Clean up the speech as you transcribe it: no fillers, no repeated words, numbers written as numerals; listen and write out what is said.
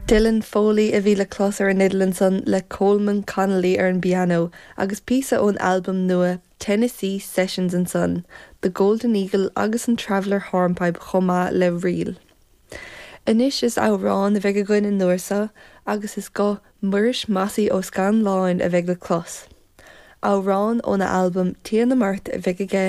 Dylan Foley a bhí le clos ar an fhidil ansan le Colman Connolly ar an bpianó agus píosa ón albam nua Tennessee Sessions ansan, The Golden Eagle agus an Traveller Hornpipe chomh maith le ríl. Anois is amhrán a bheidh againn an uair seo agus is guth Muiris Mossie Ó Scanláin a bheidh le clos. Amhrán óna albam Tír na mBeart a bheidh aige.